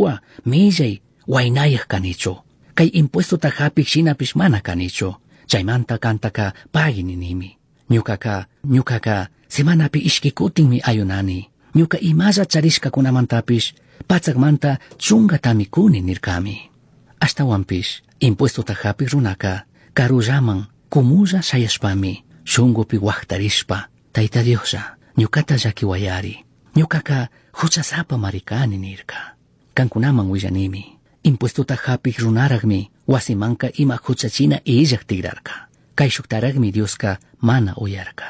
shuhua, millai, huainayaj canichu. Cai impuestota japij shinapish mana canichu. Chaimanta cantaca pagui ninimi. Ñucaca, ñucaca, semanapi ishqui cutinmi ayunani. Ñuca imalla charishcacunamantapish, patsacmanta chungatami cuni nircami. Ashtahuanpish, impuestota japij runaca, carullaman, cumulla shayashpami, shungupi huajtarishpa, Taita Dioslla, ñucata llaquihuayari. Ñucaca huchasapa maricani nirca. Cancunaman huillanimi. Impuestota japij runarajmi huasimanca ima huchachina illaj tigrarca. Caishujtarajmi Diosca mana uyarca.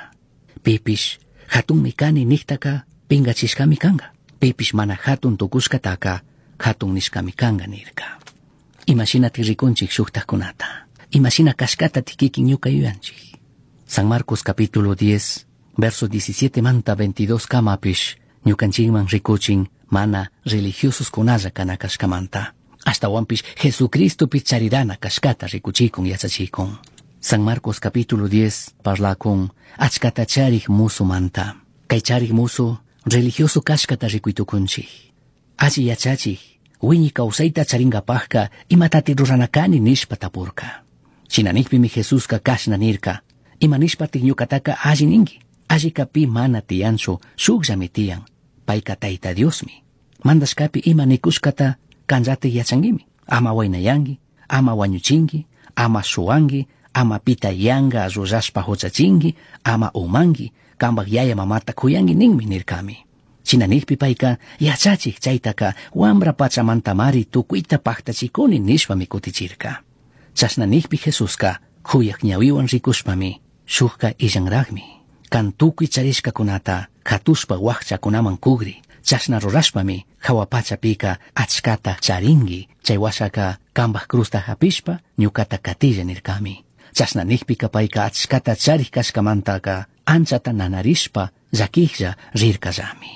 Pipish jatunmi cani nijtaca pingachishcami canga. Pipish mana jatun tucushcataca jatun nishcami canga nirca. Imashina ricunchik shujtajkunata. Imashina cashcata kikin ñuka yuyanchik. San Marcos capítulo 10, verso 17 manta 22 kamapish ñukanchikman rikuchin mana religiosos kunalla kana kashkamanta. Ashtawanpish Jesucristopi charirana kashkata rikuchikun yachachikun. San Marcos capítulo 10 parlakun achkata charik musumanta. Kay charik musu religioso kashkata rikuytukunchik. Alli yachachik, wiñi kawsayta charinkapajka imatati rurana kani nishpa tapurka. Shina nikpimi Jesuska kashna nirka, ima nishpatik ñukataka alli ninki. Allika pi mana tiyanchu, shukllami tiyan. Payka Tayta Diosmi. Mandashkapi ima nikushkata kanllatik yachanguimi. Ama waynayanki, ama wañuchinki, ama shuwanki, ama pita yanga rurashpa huchachinki, ama umanki, kambak yaya mamata kuyanki ninmi nirkami. Shina nikpi payka yachachik chaytaka wambra pachamantamari tukuyta paktachikuni nishpami kutichirka. Chashna nikpi Jesuska kuyak ñawiwan rikushpami shukka illanrakmi. Kan tukuy charishkakunata katushpa wakchakunaman kugri. Chashna rurashpami jawa pachapika achkata charinki. Chay washaka kambaj cruzta hapishpa ñukata katilla nirkami. Chashna nikpika payka achkata charik kashkamantaka anchata nanarishpa llakijlla rirkallami.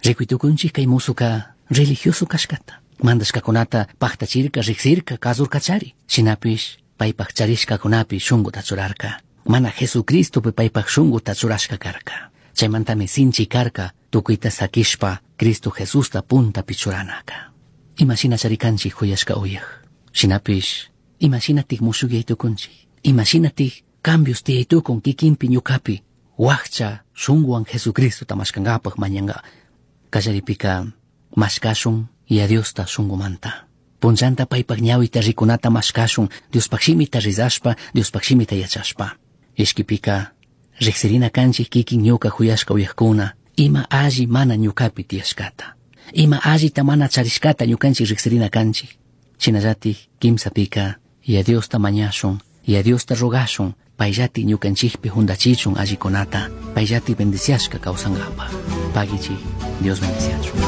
Rikuytukunchik kay musuka religioso kashkata. Mandashkakunata paktachirka riksirka kasurkachari. Shinapish paypak charishkakunapi shunguta churarka. Mana Jesucristopi paypak shunguta churashka karka. Chaymantami sinchi karka tukuyta sakishpa Cristo Jesusta puntapi churanaka. Imashina charikanchik huyashka uyaj. Shinapish imashinatik mushukyaytukunchik. Imashinatik cambios tiyaytukun kikinpi ñukapi. Wakcha shunguwan Jesucristota mashkankapaj mañanka. Kallaripika mashkashun y a Diosta shungumanta. Punllanta paypak ñawita rikunata mashkashun Diospaj shimita rizashpa, Diospaj shimita yachashpa. Ishkipika riksirina kanchik kikin ñuka huyashka uyajkuna ima alli mana ñukapi tiyashkata. Ima allita mana charishkata ñukanchik riksirina kanchik. Shinallatik kimsapika y a Diosta mañashun, y a Diosta rogashun, payllati ñukanchikpi jundachichun allikunata, payllati bendiciashka kawsankapaj. Pagichik, Dios bendiciachun.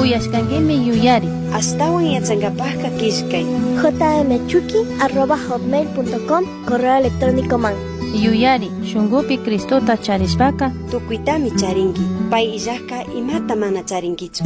Uyashkankimi yuyari. Ashtawan yachankapajka killkay. jmchuki@hotmail.com correo electrónico man. Yuyari, shungupi Cristota charishpaka Tukuytami charinki. Pay illajka imata mana charinkichu.